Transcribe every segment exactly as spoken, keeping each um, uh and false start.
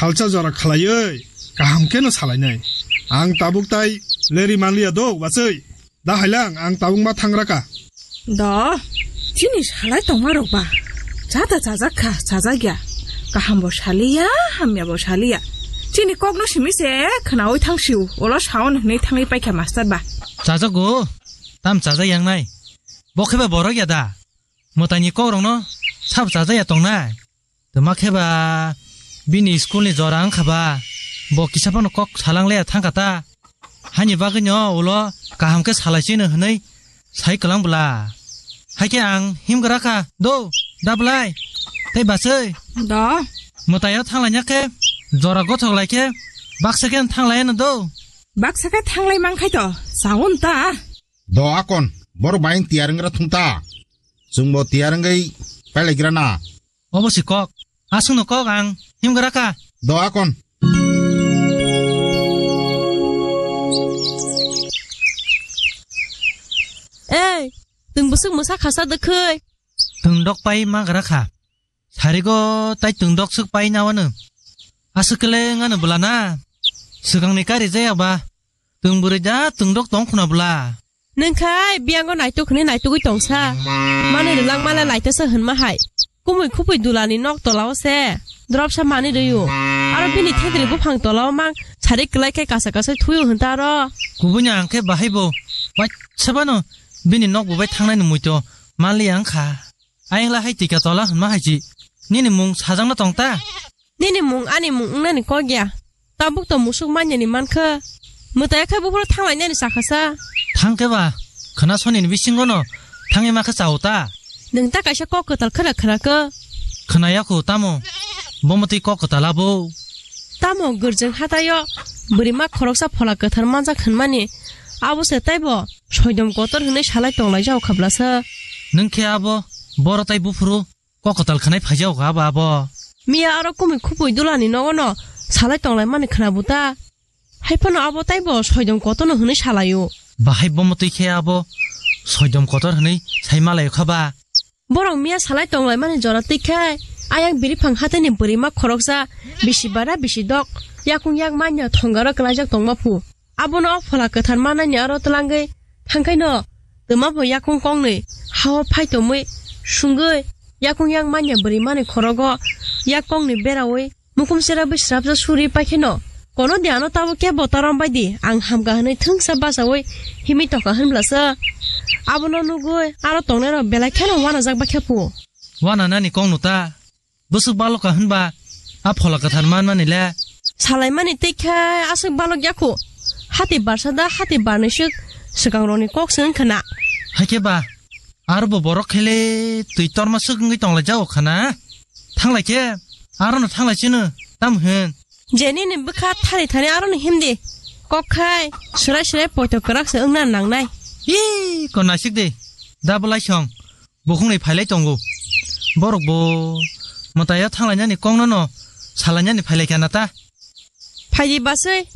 Salsa jora khalaiwi kaham kheno salainai. Ang tabuk tai leri manliya do, bachwi. Da hailang, ang tabuk ma thangraka. Do, chini salai tongma rok ba. Chata chajak kha, chajak ya. Kaham bo saliya, hamya bo saliya. Chini kok no simi se khnawi thang siu, olo saon hwnwi thangwi paikha master ba. Chajago, tam chajak yang nai. Bo khe ba borok ya da. Mwtaini kok rok no sab chajak ya tong nai. Tuma khe ba bini school ni jora wngkha ba, bo kisa phano kok salang le thangkha ta. Hani bagwi no ulo kaham khe salai chino hwnwi sai kwlang bwla. Hai khe ang himgra kha do, da bwlai tei bachwi. Do. Mwtaio thanglaina khe jora gothok lai khe baksa khe thang lai no do. Baksa khe thanglai man khai to, saun ta. Do akon, borok bai tiyar wnggra thung ta. Chwngbo tiyar wngwi pailaigra na. Obo si kok. Aswkno kok ang himgra kha. Do akon. Ei, twng bwswk mwsa khasa dwkhwi? Twng dok pai ma gra kha. Sarigo tai twng dok swk pai na wano. Aswk kele ngano bwla na. Swkangni kari jaya ba. Twng bwrwi da twng dok tong khuna bwla. Nwng khai biyango naituk hwnwi naitugwi tongsa. Manwi rwlak male laitasa hwnma hai. Kumui khupui dulani nok tolao se. Dropsa manwi rwio. Aro bini thedri buphang tolao mang sari kwlai khe kasa kasai thuio hwnta aro. Kubuini ang khe bahai bo. Waisa bano bini nok bubai thangnai ni muito manliya wngkha. Ayang la hai tika tola hwnma hai chi. Nini mung sajang no tong ta? Nini mung ani mung wngnani kok ya. Tabuk to musuk manyani mankha. Mwtai khai buphuru thanglainani sakha sa. Thang khe ba, khwna soni ni bisingo no thangwi ma khe chao ta. Nwng ta kaisa kok kwtal khwra khwra khe. Khwna ya khu tamo, bo mwtwi kok kwtal abo. Tamo gwrjwng hataio bwrwi ma khoroksa phola kwthar manjak hwnmani. Abo se taibo soidom kotor hwnwi salai tonglai jao khabla sa. Nwng khe abo boro tai buphuru kok kwtal khwnai phaijao kha ba abo. Miya aro kumui khupui dulani nogo no salai tonglai mani khwna buta. Hai phano abo taibo soidom kotor no hwnwi salaio. Bahai bo mwtwi khe abo soidom kotor hwnwi sai malaio kha ba. Borok miya salai tonglai mani jora twi khe ayang biriphang hataini bwrwi ma khoroksa bisi bara bisi dok yakung yak manya thongaro kwlaijak tongma phu. Abono o phola kwthar manani aro twlangwi thangkhaino twma bo yakung kongnwi hao phai tongwi sungwi yakung yak manya bwrwi mani khorogo yak kongni berawi mukum sera bwi srapsa suri paikheno kono de ano tabo kebo ta rombai di ang hamkha hwnwi thwngsa bachawi himwi tongkha hwnblasa abono nugwi aro tongnairok belai kheno wanajak baikha phu. Wana nani kongno ta? Bwswk baloka hwnba a phola kwthar manmani le? Salaimani tei khe aswk balok yakho. Hati barsa da hati barnwi swk swkang rokni kok se wngkha na. Hakhe ba, aro bo borok khele twi torma swk wngwi tonglai jao khana. Thanglai khe, aro no thanglai chino, tam hwn. Je nini bwkha thani thani aro no himdi. Kok khai, swrai swrai poito kwrak se wngna nangnai. Ii, ko naisik de, da bwlai song. Bukhukni phailai tongo. Borok bo mwtaio thanglainani kokno no salainani phailai kha na ta? Phaidi baswi,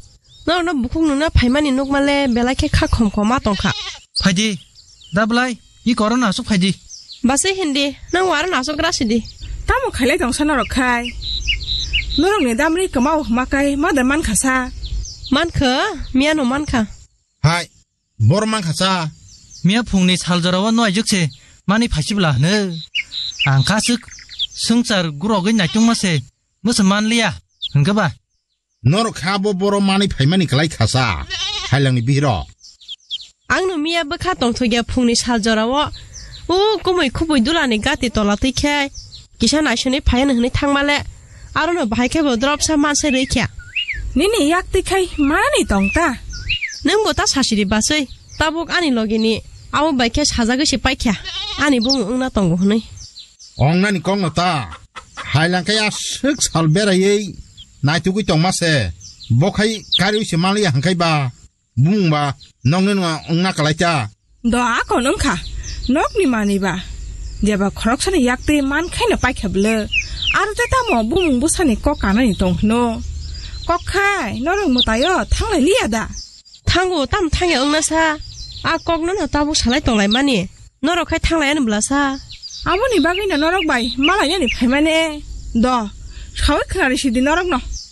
norokno bukhuk nungna phaimani nukmale belai khe kha khom khom ma tongkha. Phaidi, da bwlai, i korona aswk phaidi. Baswi hindi, nang waro naswk gra sidi. Tamo khailai tongsa norok khai? Norokni damri kwmao hwma kai ma da mankha sa? Mankha, miyano mankha. Hai, bor mankha cha. Miya phungni sal jorao no aijak se mani phaisibla hwno. Ang kha swk swngchar gurogwi naitungma se mwsa manliya hwnkhe ba. Norok kha bo boro mani phaimani kwlai kha cha, hailangni bihiro. Ang no miya bwkha tongthokya phungni sal jorao. O kumui khupui dulani gati tola twi khe kisa naisonwi phaiya hwnwi thangmale. Aro no bahai khe bo dropsa mansa rwi khe. Nini yak twi khai manani tong ta? Nwng bo ta sasiri baswi. Tabuk ani logini abo bai khe sajagwi se paikha. Ani bumung wngna tongo hwnwi. Ong nani kok no ta? Hailang khe aswk sal beraiwi naitugwi tongma se. Bo khai kariwi se manliya hwnkhai ba. Bumung ba nokni no wngna kwlai ta. Do akon wngkha nokni manwi ba. Jeba khoroksani yak twi man khaino paikha bwle. Aro tei tamo bumung bwsani kok kanani tong hwno. Kok khai norok mwtaio thanglai liya da? Thango, tam thangya wngna sa. A kok no no tabuk salai tonglai mani. Norok khai thanglai ani bwla sa. Aboni bagwi no norok bai malainani phaimani. Do, sawi khwnari sidi norok no.